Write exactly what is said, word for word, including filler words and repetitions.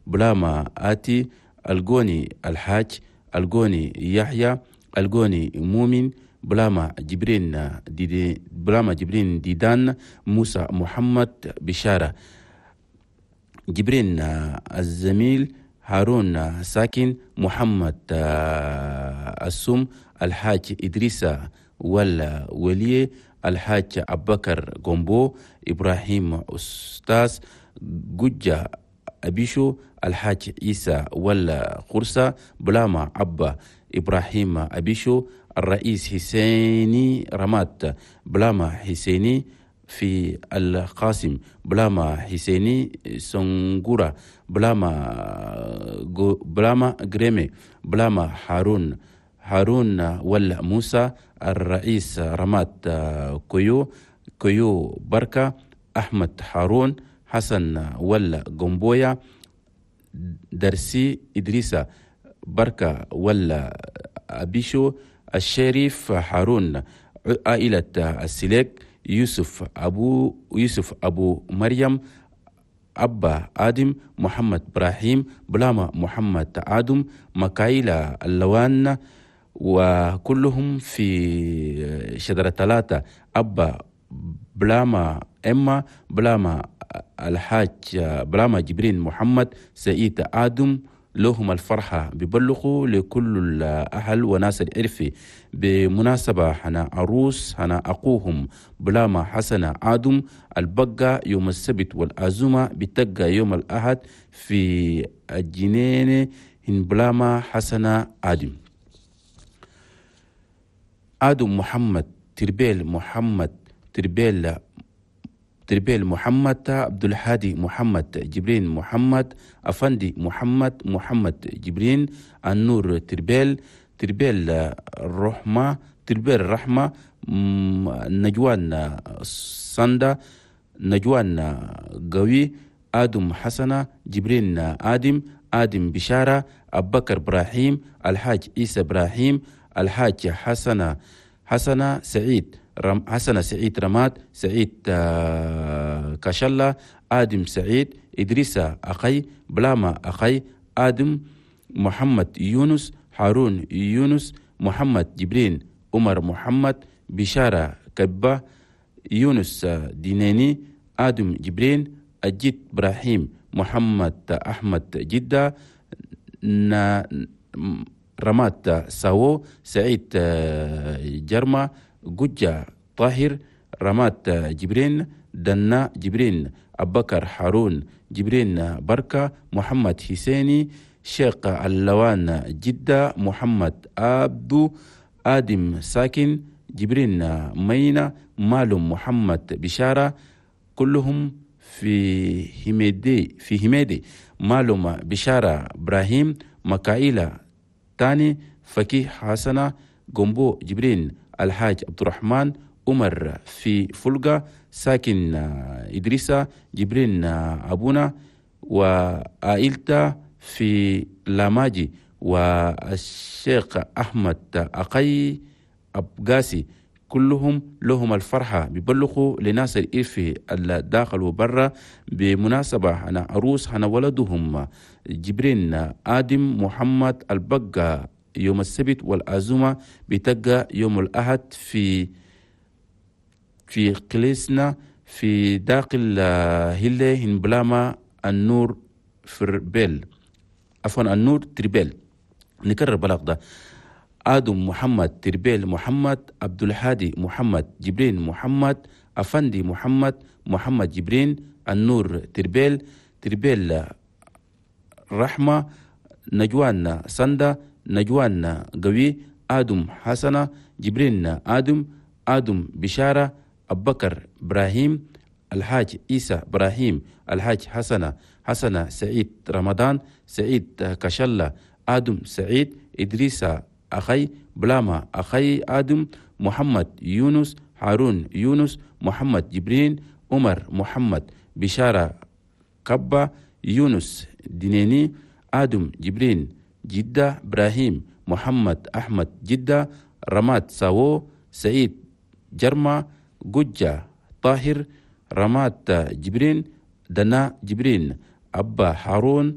بلاما آتي الجوني الحاج الجوني يحيى الجوني مؤمن بلاما جبرين ديدي بلاما جبرين ديدان موسى محمد بشارة جبرين الزميل هارون ساكن محمد السم الحاج إدريس ولا ولي الحاج أبكر جومبو إبراهيم أستاذ جوجا أبيشو الحاج عيسى ولا قرصة بلاما أبا إبراهيم أبيشو الرئيس حسيني رمات بلاما حسيني في القاسم بلاما حسيني سنغورا بلاما بلاما غريمي بلاما هارون هارون ولا موسى الرئيس رمات كيو كيو بركة أحمد هارون حسن ولا جومبويا درسي إدريسة بركة ولا أبيشو الشريف هارون عائلة السليك يوسف أبو يوسف أبو مريم أبا آدم محمد إبراهيم بلاما محمد آدم مكايلة اللوان وكلهم في شجرة ثلاثة أبا بلاما إما بلاما الحاج بلاما جبرين محمد سعيد آدم لهم الفرحة ببلغوا لكل الأهل وناس العرف بمناسبة هنا عروس هنا أقوهم بلاما حسنة آدم البقة يوم السبت والأزمة بتقى يوم الأحد في الجنين هن بلاما حسنة آدم. آدم محمد تربيل محمد تربيل تربيل محمد عبد الهادي محمد جبرين محمد أفندي محمد محمد جبرين النور تربيل تربيل الرحمة تربيل الرحمة نجوان صندا نجوان قوي آدم حسنة جبرين آدم آدم بشارة أبكر إبراهيم الحاج عيسى إبراهيم الحاج حسنة حسنة سعيد رم حسن سعيد رماد سعيد كشلة آدم سعيد إدريس أخي بلاما أخي آدم محمد يونس هارون يونس محمد جبرين عمر محمد بشارة كبة يونس ديناني آدم جبرين أجيت إبراهيم محمد أحمد جدة رماد ساو سعيد جرمة جوجا طاهر رمات جبرين دنا جبرين أبكر هارون جبرين بركة محمد حسيني شيخ اللوان جدة محمد عبدو آدم ساكن جبرين مينا مالم محمد بشارة كلهم في هميدي في هميدي مالم بشارة إبراهيم مكايلة تاني فكي حسنة جنبو جبرين الحاج عبد الرحمن عمر في فلقة ساكن إدريسة جبرين أبونا وعائلته في لاماجي والشيخ أحمد أقي أبقاسي كلهم لهم الفرحة بيبلغوا لناس الإرفي الداخل وبرا بمناسبة أنا عروس أنا ولدهم جبرين آدم محمد البقة يوم السبت والعزومة بتقى يوم الأحد في في قليسنا في داخل هلة هنبلاما النور فربيل عفوا النور تربيل. نكرر بلاغ ده آدم محمد تربيل محمد عبد الهادي محمد جبرين محمد أفندي محمد محمد جبرين النور تربيل تربيل رحمة نجوان سندا نجوان قوي آدم حسنة جبرين آدم آدم بشارة أبكر إبراهيم الحاج عيسى إبراهيم الحاج حسنة حسنة سعيد رمضان سعيد كشلة آدم سعيد إدريس أخي بلاما أخي آدم محمد يونس هارون يونس محمد جبرين عمر محمد بشارة كبة يونس دينيني آدم جبرين جدة إبراهيم محمد أحمد جدة رماد ساو سعيد جرما جوجة طاهر رماد جبرين دنا جبرين أبا هارون